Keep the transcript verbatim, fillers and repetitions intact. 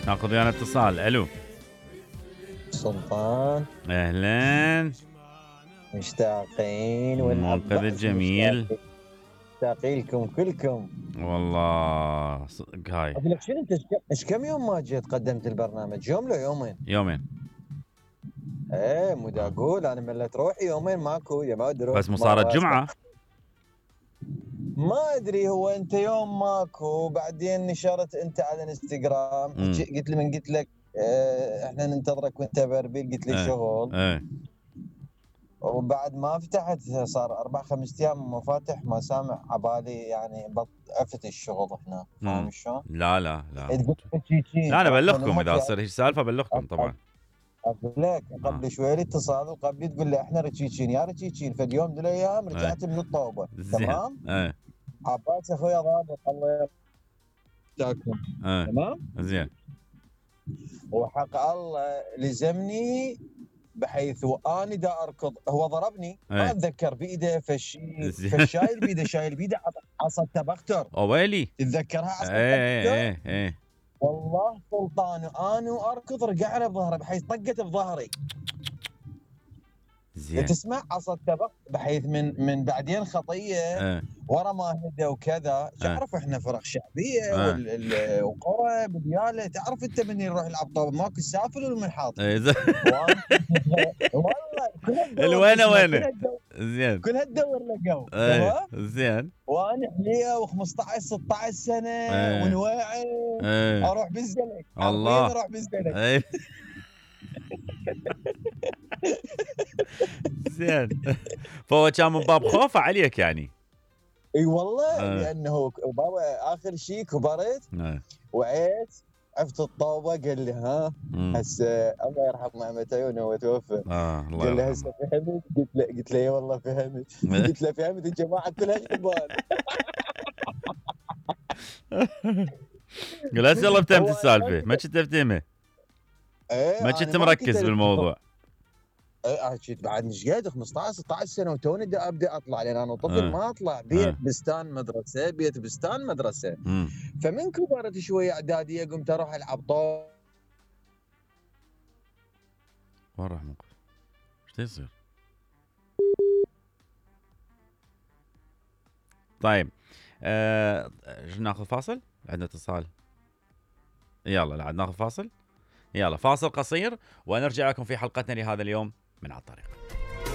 ناخذ ويانا اتصال. الو سلطان، اهلا. مشتاقين منقذ الجميل، مشتاقين لكم كلكم والله صدق. هاي اقول لك شنو، انت ايش كم يوم ما جيت قدمت البرنامج؟ يوم لو يومين؟ يومين. ايه مو دا اقول انا ملت روحي يومين ماكو يا ما ادري. بس مو صارت جمعه؟ ما ادري، هو انت يوم ماكو بعدين نشرت انت على الانستغرام، قلت لي من قلت لك اه احنا ننتظرك وانت بربيل، قلت لي ايه شغل. ايه وبعد ما فتحت صار اربع خمس ايام ما فاتح، ما سامع عبالي يعني بطفت الشغل هنا، فاهم شلون؟ لا لا لا لا انا ابلغكم اذا صار هيك سالفه ابلغكم طبعا. اقول لك قبل آه. شوي اتصال وقبل تقول لي احنا رتشيتشين يا رتشيتشين، فاليوم من الايام رجعت ايه. من الطوبه تمام؟ ايه عباس اخويا ضابط الله يرحمه. ايه. تمام زين. وحق الله لزمني بحيث واني دا اركض هو ضربني. ايه. ما اتذكر بايده فشي فشايل بيده شايل بيده عصا التبختر. اويلي تتذكرها عصا ايه التبختر؟ ايه ايه. والله سلطان انا واركض رجعنا بظهره بحيث طقت بظهري. زين. تسمع عصا التبخ بحيث من من بعدين خطيه اه. ورا ما هدى وكذا. تعرف اه. احنا فرق شعبيه اه. وقرى بدياله، تعرف انت من يروح يلعب طوب ماكو السافل والمنحاط. ايه. والله الوينه وينه. زين. كلها تدور لقوا. تمام. زين. وانا حليه و15 ستة عشر سنه اه. ونواعي اه. اروح بالزلك. الله اروح بالزلك. اه. زين. فهو كان من باب خوفه عليك يعني. اي والله آه. لانه بابا اخر شيء كبرت آه. وعيت عفت الطوبه. قال لي ها هسه الله يرحم مامة عيونه هو توفى. اه الله قال لي هسه فهمت؟ قلت له قلت له اي والله فهمت. قلت له فهمت الجماعه كلها شبان. قال هسه يلا فهمت السالفه، ما كنت تفهمها. ايه ما كنت مركز بالموضوع. ايه كنت بعد مش قاعد خمسطعش ستة عشر سنه وتوني ابدا اطلع، لان انا طفل أه. ما اطلع بيت أه. بستان مدرسه بيت بستان مدرسه. مم. فمن كبرت شويه اعداديه قمت اروح العب طاوله. وين راح موقف؟ ايش يصير؟ طيب آه، ناخذ فاصل؟ عندنا اتصال. يلا عاد ناخذ فاصل. يلا فاصل قصير ونرجع لكم في حلقتنا لهذا اليوم من على الطريق.